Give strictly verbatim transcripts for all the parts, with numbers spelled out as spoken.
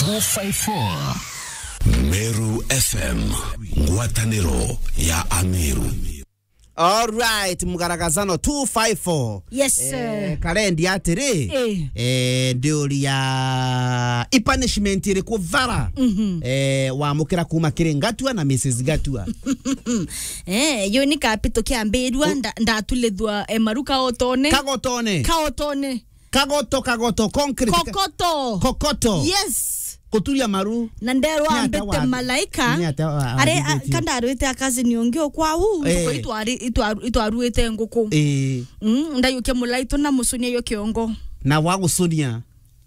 two five four. Meru F M, ngwataniro ya Ameru. All right, mgaragazano two five four. Yes, sir. Eh, karendi atiri, eh, eh, ndiuria i punishment iriku thara, mhm, eh, wamukira kuma kiri Ngatua na Missus Ngatua? Eh, yo ni kapito kiambirua, nda-, ndatulithua, eh, maru kaotone. Kagotone. Kaotone. Kagoto, kagoto, concrete. Kokoto. Kokoto. Yes. Kuturia maru. Na nderwa mbete wa-, malaika. Ni ata wa-, are, a, athithĩtie? Kandarwite a cousin ungi o kwau, eh, ntuku itwari-, itwaru-, itwaruite nguku. Eh. Mm, ndayukia mulaitu na mucunia yo kiongo. Na wa gucunia?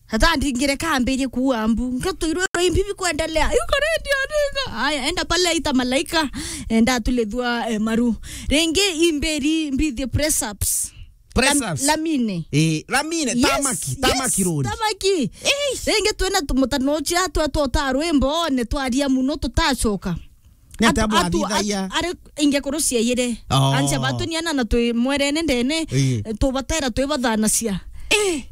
Hata ndingire kambirie kuua mbu. Ngatwirwe imbi bikuendelea. Yuko redio ndinga. Aya, enda pale ita malaika. Enda tulithua, eh, maru. Ringi imberi mbithi press ups. Press ups. Lam-, lamine. Eh, lamine, yes, tamaki, yes, tamaki rori. Tamaki. Eish. Ringi twina tu-, mutanochia twa tota rwimbo, ne twaria muno tutacoka. Ni ata atu-, atu-, bwathithagia? At-, ari inge kurucia yire. Oh. Ancha batu ni ana na twi mwerene ndene, eh, tubatera twi bathanacia. Eh.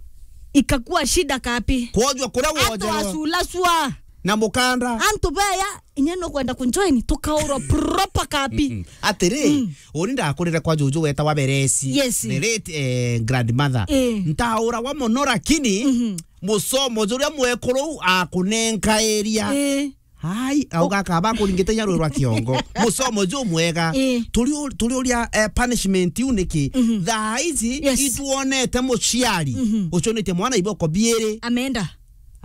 Ikakua shida kapi. Kwojwa kuria. Antu wojerwa. Asulasua. Na mukanda. Antu beya, inya no kwenda kunjoin, tukaurwa proper kapi. Mm-mm. Atiri, mm, uni ndakurire kwa juju weta wa Beresi. Yes. The late, eh, grandmother. Eh. Ntauragwa muno, lakini, mhm, musomo juria mwekuru u akunenkairia. Eh. Ai, auga akaba akuringite inya rwi rwa kiongo. Musomo ju mwega. Eh. Turi u-, turi uria, eh, punishment iu niki? Mhm. Thaa ici, yes, ituonete muciari, mhm, ucunite mwana iboko biiri. Amenda.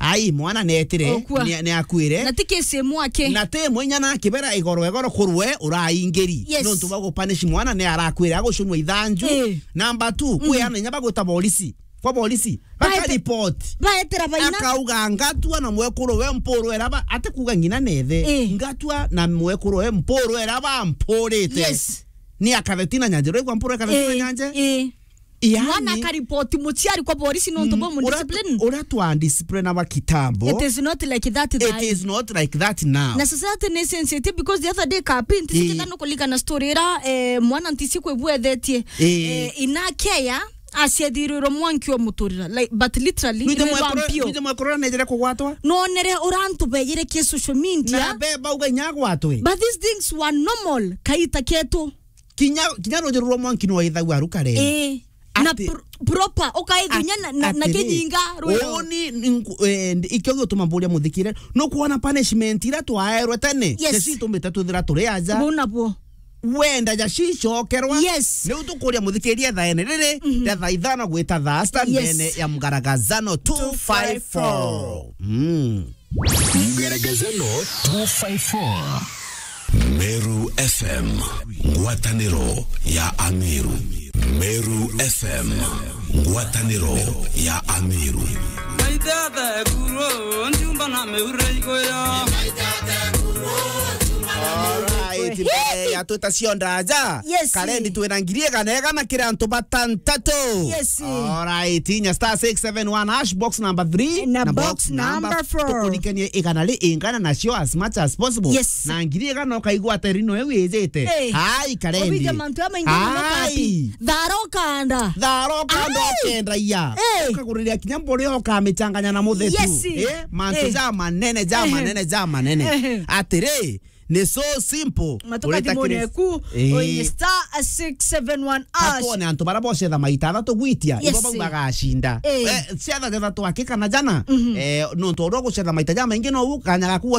Ai, mwana netire, okua, ni, ni akuire. Na ti kesi imwe aki. Na ti imwe inya na kibera igoro igoro kurwe uraingiri. Yes. Nontu bwa gupunish mwana ni arakwire agucunwa ithanju. Eh. Number two, mhm, kwi ana inya bagwita borisi. Kwa borisi. Baete-, baka report. Baetera baina. Akauga Ngatua na mwekuru we mpuru era ba, ate kuga ngina nethe. Eh. Ngatua na mwekuru we mpuru era ba mpurite. Yes. Ni akathetina nyanje. Rwigwa mpuru akathetina nyanje? Eh. Yaani, mwana akaripoti muciari kwa borisi nontu, mm, bwa mu uria, discipline. Uria twa discipline wa kitambo. It is not like that. It is not like that now. Na society ni sensitive because the other day kapi, nti, eh, sikitha no kulikana story ira, eh, mwana ntisi kwibwethetie. Eh. Eh, inakeya, aciathirirwe mwanki wa muturira. Like, but literally, nwije ni mwekuru, rwampio. Nwije mwekuru nejere kugwatwa? Nonere urantu beyire ki social media. Na be bauga inya agwatwe. But these things were normal, kaita ketu. Kinya, kinya rujiru rwa mwanki no ithagua rukare. Eh. Na ati, pro-, proper, ukaithunya at-, na, na, na atiri, kinyinga rwiro. Uni, nku-, eh, ndi-, ikio gituma mburia muthikire, nukwona punishment ira twaerwe tene? Yes. Ceci itumite twithira turi aja. Buna bwo. Wenda ja cicokerwa? Yes. Niu tukuria muthikiria thaene riri, mhm, ria thaa ithano gwita thaa sita, yes, ndene ya mgaragazano two five four. Mm. Mgaragazano two five four. Meru F M, ngwataniro ya Ameru. Meru F M, ngwataniro ya Ameru. Alright, mbere ya twita cionda aja, yes, karendi twina ngiri igana igana kiri antu batantatu. Yes. Alright, inya star six seven one hash, box number three, na box number four. Tukurikanie igana ri ingana nacio as much as possible. Yes. Na ngiri igana ukaigua ati rino iu ijite. Hey. Hai, karendi. Obija mantu amaingi muno kapi. Hai. Thara ukanda. Thara ukanda. Ai. Ukendagia. Eh. Ukaguriria kinya mburi ukamichanganya na muthetu. Yes. Eh, mantu, eh, ja manene, ja, ehe, manene, ja manene. Ehe. Atiri, ni so simple. Matuka ureta thimune kiri-, eku, eh, oinye star six seven one hash. Katwone antu bara bocetha maita athatu gwitia, yes, ibo bau bagacinda. Eh. Eh, ciatha thethatu aki kana jana, mhm, eh, nontu uria ugucetha maita jamaingi nou kanya gaku